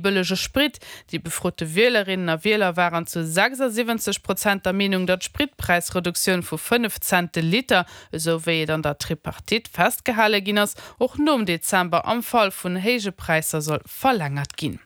Bëllege Sprit. Déi befrote Wielerinnen a Wieler waren zu 76 Prozent der Meenung, datt d'Spritpräisreduktioun vu 5 Cent de Liter, esou wéi et an der Tripartite festgehale ginn ass, och nom Dezember am Fall vun héije Präisser soll verlängert ginn.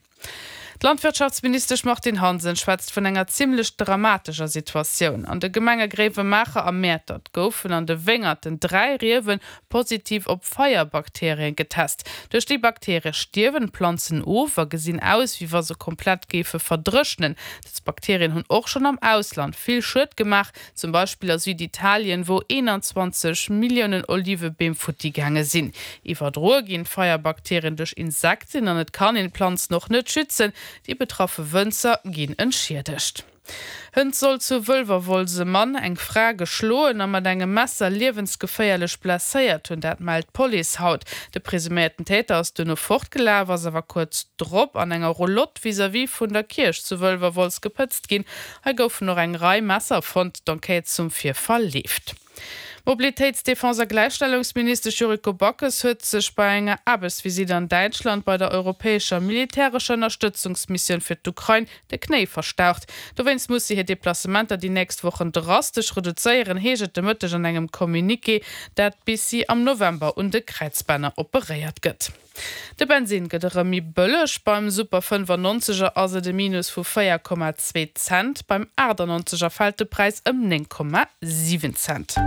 D'Landwirtschaftsministesch Martine Hansen schwätzt vun enger zimmlech dramatescher Situatioun. An de Gemenge Gréiwemaacher a Mäertert goufen an de Wéngerten 3 Riewe positiv op Feierbakterien getest. Duerch déi Bakterie stierwen d'Planzen of a gesinn aus, wéi wa se komplett géife verdréchnen. Dës Bakterien hunn och schonn am Ausland vill Schued gemaach, zum Beispill a Süditalien, wou 21 Milliounen Olivebeem futti gaange sinn. Iwwerdroe ginn d'Feierbakterien duerch Insekten an et kann een d'Planzen och net schützen. Déi betraffe Wënzer ginn entschiedegt. Hënt soll zu Wëlwerwolz e Mann eng Fra geschloen a mat engem Messer liewensgeféierlech blesséiert hunn. Dat mellt d'Police haut. De presuméierten Täter ass duerno fortgelaf, ass awer kuerz drop an enger Roulotte vis-à-vis vun der Kierch zu Wëlwerwolz gepëtzt ginn. Hei goufen och eng Rei Messer fonnt. D'Enquête zum Virfall leeft. D'Mobilitéits-, Defense a Gläichstellungsministesch Yuriko Backes huet sech bei enger Aarbechtsvisitt an Däitschland bei der europäescher militärescher Ënnerstëtzungsmissioun fir d'Ukrain de Knéi verstaucht. Dowéinst muss si hir Deplacementer déi nächst Wochen drastesch reduzéieren, heescht et de Mëtteg an engem Communiqué, dat bis si am November un de Kräizbänner operéiert gëtt. De Bensinn gëtt erëm méi bëlleg, beim Super 95 er ass et e Minus vu 4,2 Cent, beim 98 er fält de Präis ëm 9,7 Cent.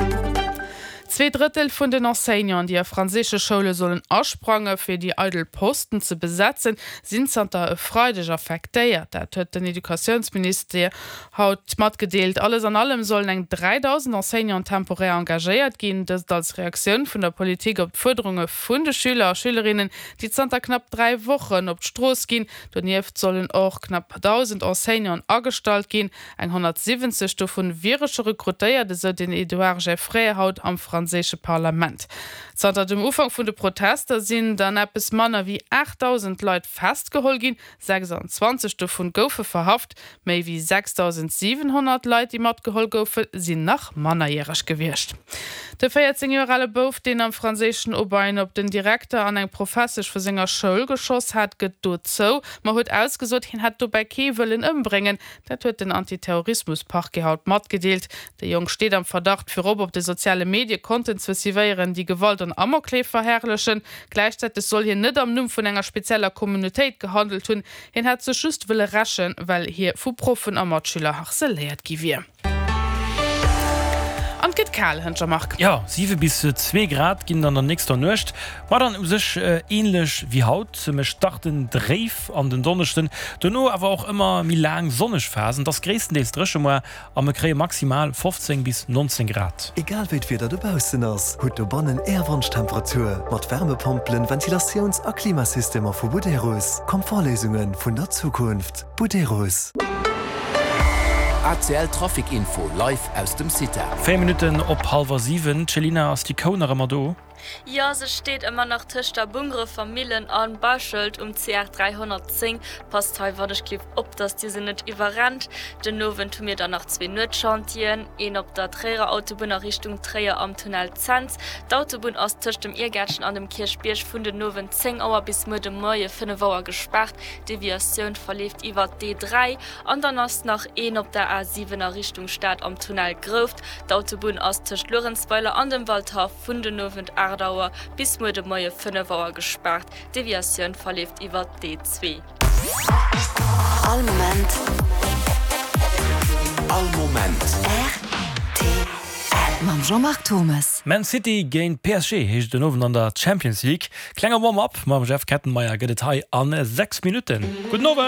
Zweedrëttel vun den Enseignanten, déi a franséische Schoule sollen asprange fir déi eidel Posten ze besetzen, sinn zanter e Freideg affektéiert. Dat huet den Educatiounsministère haut matgedeelt. Alles an allem sollen eng 3.000 Enseignanten temporär engagéiert ginn, dëst als Reaktioun vun der Politik op d'Fuerderunge vun de Schüler a Schülerinnen, déi zanter knapp 3 Wochen op d'Strooss ginn. Donieft sollen och knapp 1.000 Enseignanten agestallt ginn. Eng 170 dovun wiere scho rekrutéiert, esou den Edouard Geffray haut am franséische Parlament. Zanter dem Ufank vun de Protester sinn dann eppes manner wéi 8.000 Leit festgeholl ginn, 26 dovun goufe verhaft. Méi wéi 6.700 Leit, déi matgeholl goufen, sinn nach mannerjäreg gewiescht. De 14 Joer ale Bouf, deen am franséischen Aubaine op den Direkter an eng Professesch vu senger Schoul geschoss hat, gëtt do zou, ma huet ausgesot, hien hätt dobäi kee wëllen ëmbréngen. Dat huet den Antiterrorismus-Parquet haut matgedeelt. De Jong steet am Verdacht, virop op de soziale Medie Konten ze suivéieren, déi Gewalt an Amokleef verherrlechen. Gläichzäiteg soll hien net am Numm vun enger spezieller Communautéit gehandelt hunn. Hien hätt sech just wëlle rächen, well hie vu Proffen a Matschüler harceléiert gi wier. An et gëtt kal, hënt Jean-Marc. Jo, 7 bis 2 Grad ginn et an der nächster Nuecht, ma dann u sech änlech wéi haut. Mir starten dréif an den Donneschden, dono awer och ëmmer méi laang sonneg Phasen. Et ass gréisstendeels dréche moar A mer kréie maximal 15 bis 19 Grad. Egal wéi d'Wieder dobaussen ass, hutt dobannen Är Wonschtemperatur mat Wärmepompelen, Ventilatiouns a Klimasystemer vu Buderus. Komfortléisunge vun der Zukunft. Buderus. ACL Trafic Info live aus dem CITA. 4 Minutten op hallwer 7. D'Chelina, ass déi Kou nach ëmmer do? Jo, se steet ëmmer nach tëscht der Bungerefer Millen a Bauschelt um CR 310. Passt hei wannechgelift op, dass dir se net iwwerrennt. Den Owend hu mir dann nach zwee Nuetschantieren, een op der Tréierer Autobunn a Richtung Tréier am Tunnel Cents. D'Autobunn ass tëscht dem Iergäertchen an dem Kierchbierg vun den Owend 10 Auer bis muer de Moie 5 Auer gespaart. D'Deviatioun verleeft iwwer d'E3. An dann ass nach een op der A7 a Richtung Stad am Tunnel Grouft. D'Autobunn ass tëscht Luerenzweiler an dem Waldhaff vun den Owend 8 Auer bis muer de Moie 5 Auer gespaart. D'Deviatioun verleeft iwwer d'E2. All Moment. All Moment. Rtl. Mam Jean-Marc Thommes. Man City géint PSG heescht et den Owend an der Champions League. Klenge Warm-up mam Jeff Kettenmeyer gëtt et hei a 6 Minutten. Gudden Owend!